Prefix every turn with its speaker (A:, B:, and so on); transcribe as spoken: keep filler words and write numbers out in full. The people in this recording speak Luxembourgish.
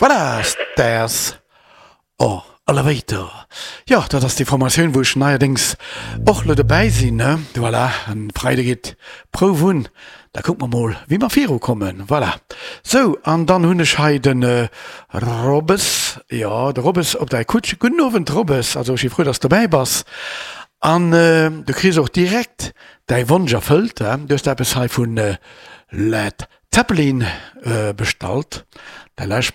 A: Voilà, Stairs or Elevator. Jo, dat ass déi Formatioun, wou ech neierdéngs och lo dobäi sinn, ne? Voilà, en Freide geet d'Prouf un, da kucke mer mol, wéi mer virukommen. Voilà. Sou, an dann hunn ech hei de Robbes, jo, de Robbes op der Kutsch. Gudden Owend, Robbes. Also, ech si frou, dass s dobäi bass. An du kriss och direkt däi Wonsch erfëllt, he? Du hues eppes hei vu Led Zeppelin bestallt. Da lauschteren mer.